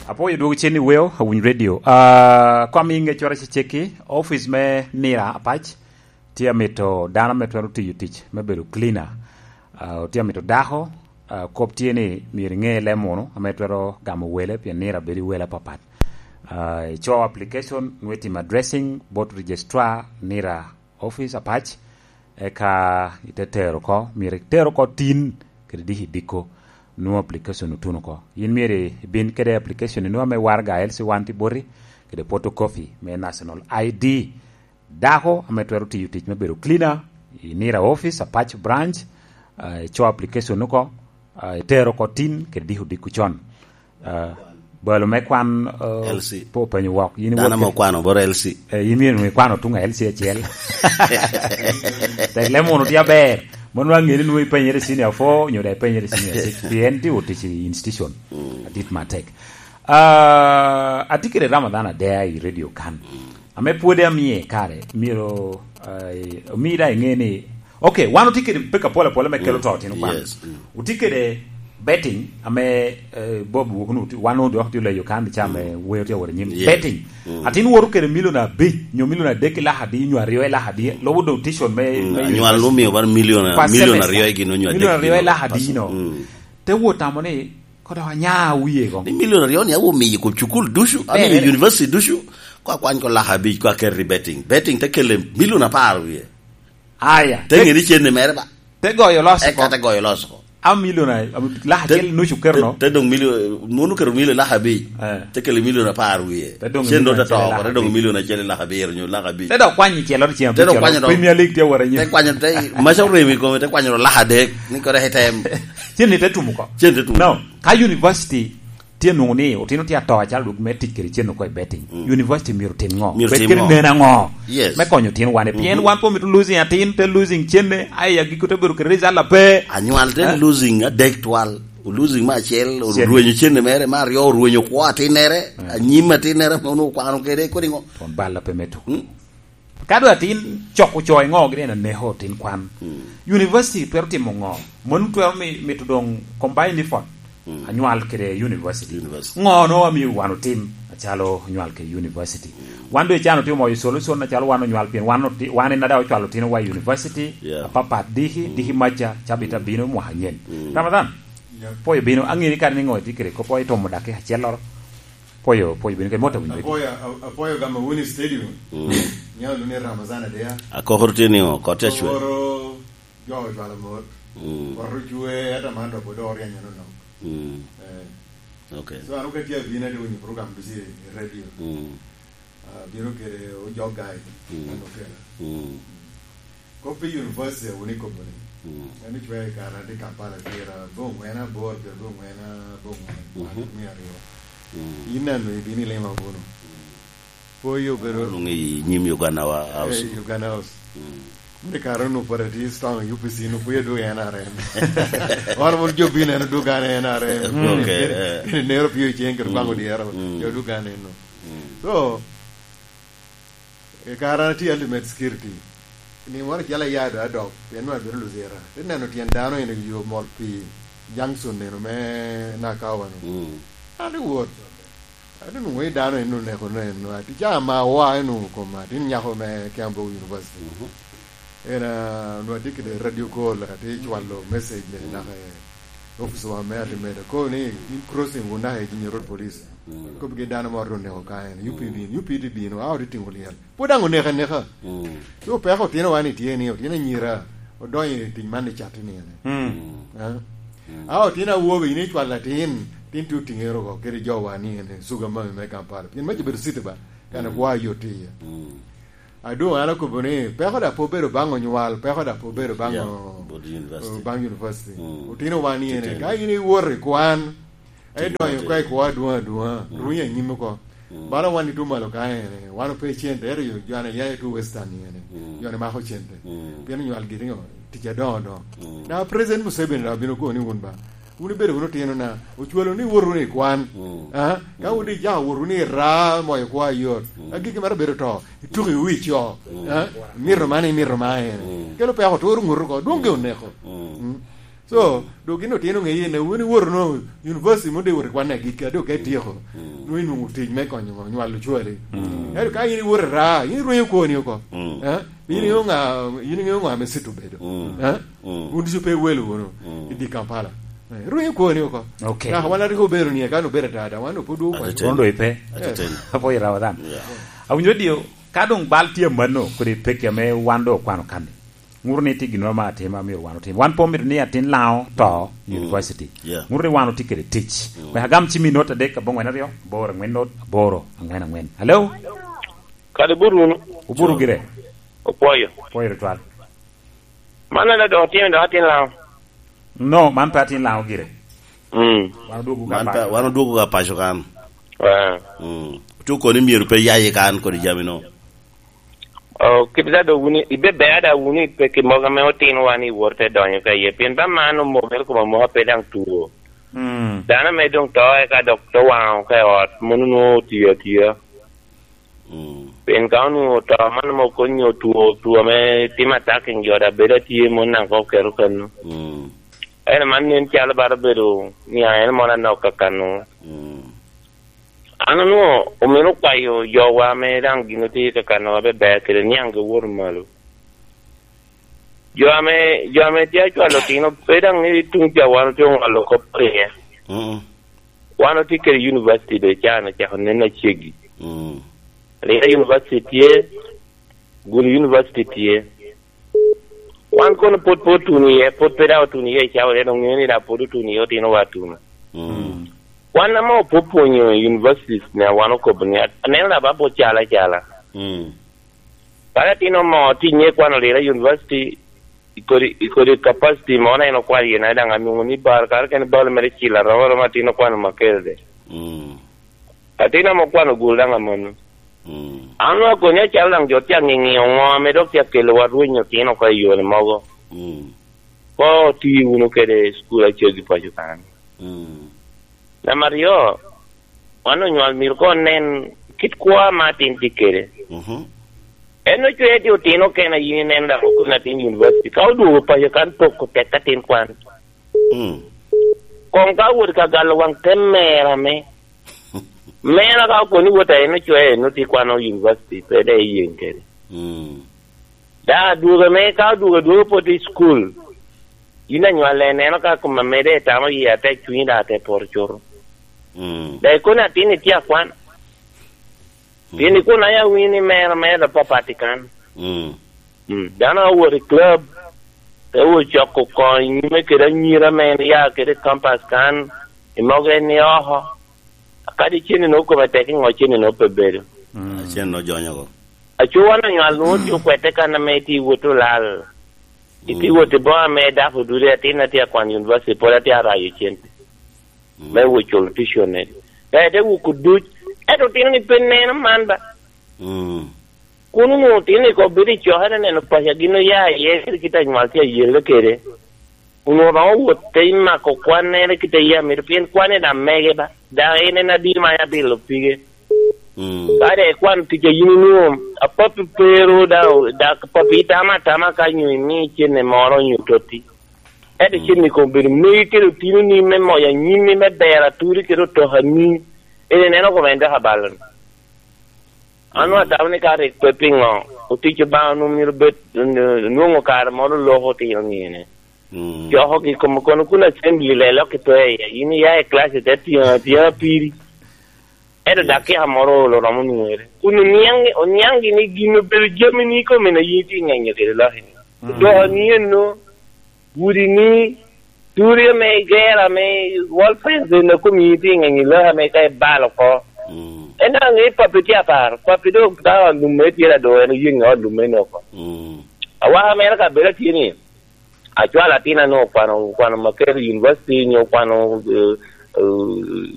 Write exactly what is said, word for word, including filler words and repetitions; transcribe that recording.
Apwoyo dwogo cen i weo, Awiny Radio. Ah, kom i ngecwara cecekki, office me Nira Apac tye amito dano ame twero tiyo tic me bedo cleaner. Ah, tye amito dako, ah, kop tye ni myero iŋe lem munu ame twero gamo wele, pien Nira bedo i wele apapat. Ah, ico application, nwe tim addressing, bot registrar, Nira office Apac, eka ite tero oko, myero iter oko tin kede diki diko, nwoŋo application otuno oko. Yin myero ibin kede application inu ame waraga L C one tye boti, kede photocopy me national I D. Dako ame twero tiyo tic me bedo cleaner i Nira office, Apac branch, ah, ico application oko, ah, itero oko tin kede diko diko con. Ah, balo me kwan, ah, L C. Pe openyo wok. Yin Dano wok ame okwano boro L C. Eh, yin myero nwoŋo ikwano tuŋ a L C acel. Tek lem wunu tye aber. Mano aŋe ni nwoŋo ipenyere senior four, nyo daŋ ipenyere senior six. Pien tye otic i institution. Mm. Adit matek. Ah, atye kede Ramadhan Adea i radio kan. Mm. Ame pwod amie kare, myero, ah, omi daŋ iŋe ni, ok, wan otye kede peko apol apol ame kelo Mm. to tino kwan. Yes. Mm. Otye kede betting ame, eh, Bob wok nu, wan nu dok tye leyo kan ca ame Mm. weo tye awot anyim. Yes. Betting. Mm. Atin woto kede milion abic, nyo milion adek i laka adi, nyo aryo i laka adi, lubo doŋ tison me, Mm. me Anywal university. Nu omio bar milion, Per milion semester. Aryo i gin onyo adek Milion aryo i gin. Laka adi, no. Mm. Te wot tamo ni, kodo anya wie go. Ni milion aryo ni awo miyo kom cukul ducu, Ber, amiyo ber. University ducu, ko akwany ko laka abic, ko aket i betting. Betting te kele milion apar wie. Aya. Te Te, ŋe ni cenne mere ba. Te goyo loso Eka ko. Te goyo loso ko. A milion a, a, laka Te, acel nucu keto te, no. Te dong milion, munu keto milion laka abic. Eh. Te kele milion apar wie. Te dong Cen milion do te acel to, laka te dong abic. Milion acel laka abiro nyo laka abic. Te dok kwanyo celo, celo, Te dok celo. Kwanyo dong. Premier League tye wara nyim. Te kwanyo te, maca orem i kome, te kwanyo dong laka adek, ni kore he tem. Cen ni te tumo ko. Cen te tumo. No, ka university tye nwoŋo ni otino tye ato acalo duk me tic kede cen oko i betting. Mm. University myero tim ŋo? Myero Bet tim kede ŋo? Nen aŋo? Yes. Me konyo tin wane. Pien Mhm. wan pe omito losing atin, te losing cenne, ai agiko te bedo kede result ape. Anywal te Eh? Losing adek twal. O losing me acel, Cen. Orwenyo cenne mere, me aryo orwenyo kwo atinnere, Eh. Anyim atinnere, ma onwoŋo okwano kede, kodi ŋo? Twon bal ape me tuko. Mm. Ka doŋ atin cok ocoyo ŋo gire en aneko tin kwan. Mm. University twero timo ŋo? Mon twero mi-, mito doŋ combine effort. Mm. Anywal kede university. University. Ŋo no amio wan otim acalo onywal kede university? Mm. Wan doŋ icano tye omoyo solution acalo wan onywal pien wan oti-, wan en ada ocwalo otino wa i university. Yeah. Apapat diki, Mm. diki maca, cabit abino mwaka anyen. Mm. Ramadhan, Yeah. Poyo bino, aŋiri kare ni ŋo itye kede kop o itomo daki acelloro. Poyo, poyo bino kede mot awinyo. Apoyo, a-, apoyo gamo wuni stadium. Mm. Nyalo luni Ramazan Adea. Akokoro tye ni ŋo, kot te cwe. Koro jo ocwalo mot. Mm. Kot ocwe, ata man dok odok oryenyo no nok. Mm. Eh. Okay. So, an okati abino ade winyo program ducu i radio. Mm. Ah, bino kede ojok gai, Mm. an okela. Mm. Kop pi university wun ikobo ni. Mm. An icwee i kare an tye Kampala tira, bo ŋwen abor, kede bo ŋwen, bo ŋwen, Mhm. mia aryo. Mm. In nanu ibino ilima kuno. Mm. Poyo obedo Nung i nyim Uganda wa house. Eh, Uganda House. Mm. Ni kare nu pwod ati strong U P C nu pwod dwogo N R M. Wan mon jo bino en dwogo an N R M. Okay, eh. Kene nero pio ceng kede kwango Mm. Dyero. Mm. Jo dwogo an eno. Mm. So, i kare an atye Ultimate Security, ni moro acel aya do adok, pien nwa abino Luzira. Te neno tyen dano en i yo mol pi junction neno me Nakawa no. Mm. An i wot. An onwoŋo i dano en oneko no en nwa. Ti ca ma wa en onwoŋo koma, tin nyako me Kiambu University. Mhm. En, ah, nwa tye kede radio call, ati cwalo message, Mm. naka i office wa me Ultimate. Ko ni, in crossing wun naka i Jinja Road Police. Mm. Kobbi gi dano moro oneko ka en, U P B, Mm. U P D bino, a oti timo lyel. Pwod daŋ oneko aneka. Mm. So peko otino wan itye ni, otino anyira, odonyo i tic man i cat ni ene. Mm. Ah? Mm. A otino awobe, in icwalo atin, tin tye otingero ko, kede jo wa ni ene, suga mami me Kampala. Pien mac obedo city ba, kan Mm. akwa yot iye. Mm. A doŋ an akobo ni, peko da pe obedo baŋ onywal, peko da pe obedo baŋ Yeah, o-, but university. Baŋ university. Mm. Otino wan ni ene, Titino. Ka in iwot i kwan, Timo idonyo ate. Ka i kwo adwoŋ adwoŋa, Mm. Runi anyim oko. Mm. Bala wan ituŋ malo ka ene, wan ope cente, ento jo, jo ane ya itu Western ni ene, Mm. Jo ane mako cente. Mm. Pien onywal giri ŋo, tic adoŋo adoŋo. Mm. Na President Museveni daŋ obino koni wun ba, wun ibedo wunu otino na, ocwalo ni wot wunu i kwan. Mm. Ah? Ka Mm. wun ijako wot wunu i raa, moyo kwo ayot. Mm. Agikki maro bedo to, ituko i wi co. Mm. Ah? Mito man, imito man ene. Mm. Kelo peko, turo ŋuto ko, dwoŋ ge oneko. Mm. Mm. So, dok gin otino ŋeye ni wun iwoto no university mo de iwoto i kwan agikki, a dok ka ityeko, nwoŋo inwoŋo tic me konyo nywalo cwari. Ento ka in iwoto i raa, in irwenyo kwoni oko. Eh? In iŋeo ŋa, in iŋeo ŋa ame cito bedo? Eh? Wun ducu pe iwelo wunu i di Kampala. Eh, irwenyo kwoni oko. Okay. Naka wan arik obedo ni eka obedo dada, wan opod okwanyo. Atete. Kono do ipe. Atete. Apo irawo dhan. Yeah. Awinyo dio, ka dong bal tye mano, kodi peki ame wan do okwano kani. Ŋuto ni tye ginnoro ma atima myero wan otim. Wan pe omito ni atin Laŋo to university. Yeah. Ŋuto ni wan otye kede tic. Wek agam cim i not adek aboŋwen aryo, aboro angwen not, aboro angwen angwen. Hello? Kadi bur wunu. Oburu gire. Opwoyo. Opwoyo tutwal. Man ene dok otimo dok atin Laŋo. No, man pe atin Laŋo gire. Mm. Wan odwogo ka Man pe, paco. Wan odwogo ka paco kan. Ah. Mm. Otu koni myero pe yaye kan kodi jami no. Oh, kit da do wuni, ibe ber da wuni pe ki moga me otino wan i wor te donyo ka iye. Pien ba man omokere koma moka pe daŋ tuo. Mm. Dano me dong to eka dok to waŋo ka i ot, mono nwoŋo otiyo atiya. Mm. Pien ka onwoŋo to man mo konyo two, two ame timo attacking jo da bedo atye mon naŋ kok keto kano. Mm. Ene man nen calo baro bedo ni a en mono anok kakano. Mm. An onwoŋo omito kwayo jowa ame daŋ gin otye kakano abe ber kede niaŋ gi wot malo. Jo ame, jo ame tye acwalo otino, pe daŋ ni tuŋ ca wan otye oŋolo kop iye. Mm. Wan otye kede university do can ocako nen aceggi. Mm. Lira university tye, Gulu university tye. Wan kono pwod pe otuno iye, pwod pe daŋ otuno iye i cawa, en oŋeo ni daŋ pwod otuno iye otinowa atuno. Mm. Wan ame opwopwonyo universities ni wan okobo ni, aneno daŋ ba pwod calo acala. Mm. Ka latin omo tye nye kwano lira university, i kodi, i kodi capacity mo na en okwano iye na daŋ anwoŋo ni bar, kare kene bal mere cilo aromo aroma atin okwano makere de. Mm. Atin ame okwano gul daŋ amanno. Mm. An onwoŋo akonyo acalo daŋ jo tye aŋiŋi oŋo ame dok tye akelowa rwenyo otino oko i yore mogo. Mm. Ko oti wunu kede cukul acel i paco kan. Mm. Namba aryo, wan onywal myero ko onen kit kwo ame atin tye kede. Mhm. En ocweo tye otino kene a yin ineno daŋ okone atin university. Ka odwogo paco kan poko tek atin kwan. Mm. Koŋ ka wot ka galo waŋ te mera me. Mera ka okoni wot a en ocweo en oti kwano university, pe de iyeŋ kede. Mm. Da adwogo me, ka odwogo adwogo pwod i school. Yin anywal en, neno ka koma mede tamo yie atek cunyi da ate poro cuto. Mm. Da ikoni atin itye akwan. Pien ikuna ya wini mera, mera papat i kan. Mm. Mm. Dano a wot i club, te wot coko kony nyime kede anyira me en ya kede campus kan, i mogo en ni oko. Kadi cene no kome tek i ŋo cene no pe bedo. Mm. Cene no jonyo ko. Aco wan onywal nwoŋo tye okwete kan ame itye iwot olal. Itye iwot i boŋo ame dako dude atin atye akwan university, pwod atye arayo cente. Mm. Me wot culo tuition-ne. Ka ite wuko duc, ento otino ni pe neno man ba. Mm. Kun onwoŋo otino ni kop bedo i cokere neno paco a gin oya iye, kede kit anywal tye ayelle kede. Onwoŋo romo wot te mako kwannere kite yam mito, pien kwanne daŋ mege ba. Daŋ en en adi ma abilo pige. Mm. Ka de ikwano tic a yin inwoŋo, a papi pe ru daŋ, dak papi itamo atama ka nyo imi cene moro nyo totti. Ento cene kono bedo megi kede otinoni me moyo anyimmi me bero aturi kede otokani. En ineno kome en dok abaloni. An atamo ni ka rik pe piŋo otic Obaŋa onwoŋo myero bed, nwoŋo kare moro loko otino nine. Mm. Cokogi kom kono kun assembly le lok i pe iye. In iya i class ite tyeŋ, tyeŋ apiri. Ento dakika moro olo romo nwoŋere. Kun oniaŋ, oniaŋgi ni gin obedo jamini kome na yin itye ŋenyo kede lok-ki. Mm. Otokani eno, gudi ni, turi ame igero ame wall fence eno kome yin itye ŋenyo lok ame ka ibalo oko. Mm. En daŋ ŋe papi tye apar, papi doŋ ka ot lum mere tye ado en oyeŋ ot lum mere oko. Mm. Awaka mere ka bedo atye ni, acwalo atin anu okwano, okwano maket i university nyo okwano, eh, eh,